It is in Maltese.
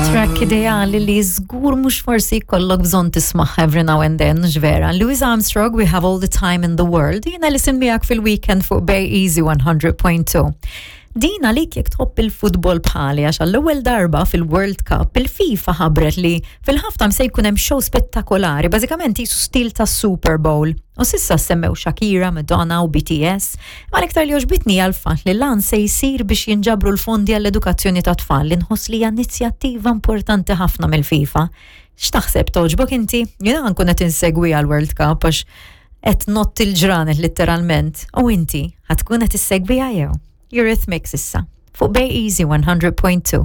Track ideali li żgur mhux forsi jkollok bżonn tismagħha every now and then, vera. Louis Armstrong, We Have All the Time in the World, jiena li miegħek fil-weekend fuq Bay Easy 100.2. Din għalik jekk tħobb il-futbol bħali għax għall-ewwel darba fil-World Cup il-FIFA ħabbret li fil-halftime se jkun hemm show spettakolari, bażikament jisu stil ta' Super Bowl. U s'issa semmew Shakira, Madonna u BTS, ma l-iktar li għoġbitni għal-fatt li lan se jsir biex jinġabru l-fondi għall-edukazzjoni ta' tfal li nħoss li hija inizjattiva importanti ħafna mill-FIFA. X'taħseb togħġbok inti? Jiena nkun qed insegwi għal-World Cup għax qed ngħodd il-ġranet litteralment. U inti ħa tkun qed issegwiha jew? Eurythmics issa fuq Bay Easy 100.2.